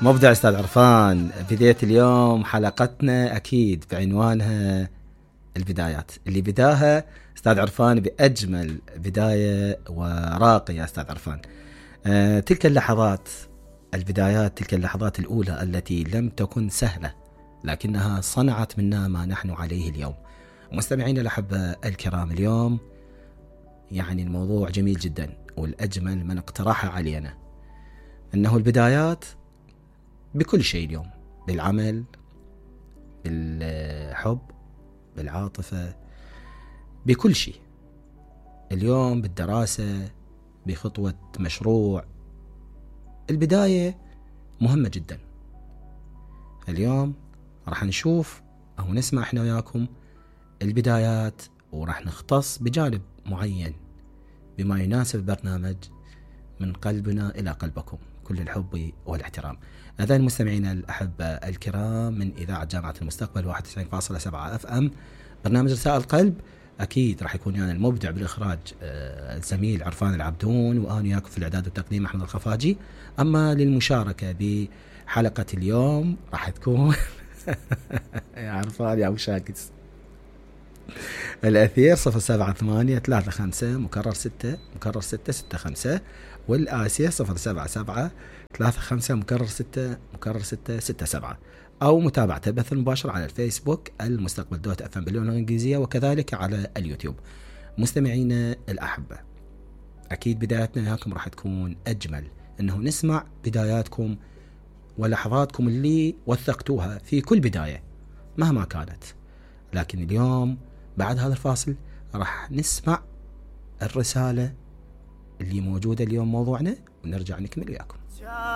مبدع أستاذ عرفان. بداية اليوم حلقتنا أكيد بعنوانها البدايات، اللي بداها أستاذ عرفان بأجمل بداية وراقية. أستاذ عرفان، تلك اللحظات، البدايات، تلك اللحظات الأولى التي لم تكن سهلة لكنها صنعت منا ما نحن عليه اليوم. مستمعين الأحبة الكرام، اليوم يعني الموضوع جميل جدا، والأجمل من اقترح علينا أنه البدايات بكل شيء اليوم، بالعمل، بالحب، بالعاطفة، بكل شيء اليوم، بالدراسة، بخطوة مشروع. البداية مهمة جدا. اليوم راح نشوف أو نسمع احنا وياكم البدايات، وراح نختص بجانب معين بما يناسب البرنامج من قلبنا إلى قلبكم، كل الحب والاحترام. أعزائي المستمعين الأحبة الكرام من إذاعة جامعة المستقبل 91.7 FM، برنامج رسائل القلب. أكيد راح يكون يعني المبدع بالإخراج الزميل عرفان العبدون، وأنا وياكم في الإعداد والتقديم أحمد الخفاجي. أما للمشاركة بحلقة اليوم راح تكون يا عرفان يا أبو شاكس، الأثير 078-35-6-65، والآسيا 077-35-6-6-67، أو متابعته بث مباشر على الفيسبوك المستقبل .fm باللغة الإنجليزية، وكذلك على اليوتيوب. مستمعينا الأحبة، أكيد بداياتنا وياكم راح تكون أجمل، أنه نسمع بداياتكم ولحظاتكم اللي وثقتوها في كل بداية مهما كانت. لكن اليوم بعد هذا الفاصل راح نسمع الرسالة اللي موجودة اليوم موضوعنا، ونرجع نكمل وياكم.